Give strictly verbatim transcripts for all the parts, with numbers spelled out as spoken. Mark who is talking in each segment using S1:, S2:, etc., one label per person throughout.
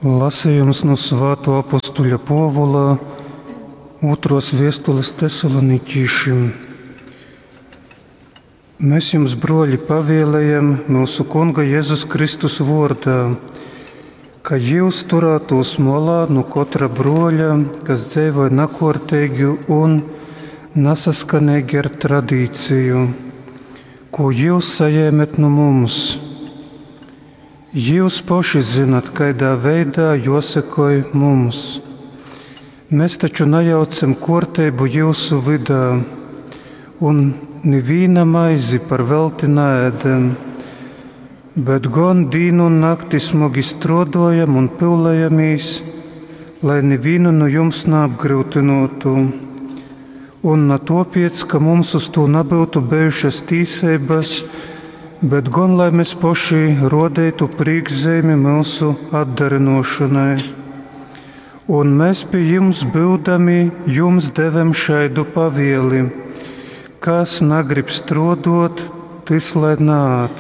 S1: Lasījums nu Svāto apostuļa Pōvula ūtros viestules Tesaloniķīšim. Mēs jums, broļi, pavielējam mūsu Kunga Jēzus Kristus vārdā, ka jūs turētos molā no katra broļa, kas dzīvoja nakortīgi un nasaskanīgi ar tradīciju, ko jūs sajēmet no mums. Jūs paši zinat, kādā veidā jāsekoj mums. Mēs taču nejaucam kārtību jūsu vidā, un neviena maizi par velti neēdam, bet gan dienu un nakti smagi strādājam un pūlējamies, lai nevienu no jums neapgrūtinātu. Un na topiec, ka mums uz to nebūtu bijušas tīsības, bet gan lai mēs paši rodētu priekšzīmi mūsu atdarinošanai. Un mēs pie jums būdami, jums devem šaidu pavieli: kas nagrib strodot, tis lai nād.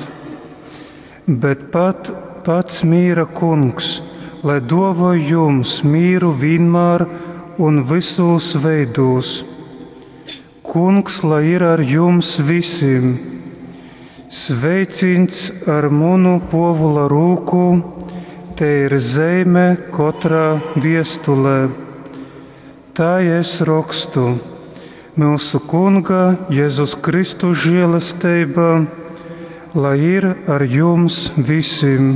S1: Bet pat pats mīra kungs, lai dovoj jums mīru vienmēr un visos veidos. Kungs, lai ir ar jums visiem. Sveicīns ar munu Pōvula rūku, te ir zeime katrā viestulē. Tā es rakstu. Mūsu Kunga Jēzus Kristus žēlastība, lai ir ar jums visiem.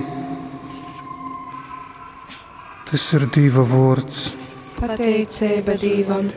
S1: Tas ir Dieva vārds.
S2: Pateicība Dievam.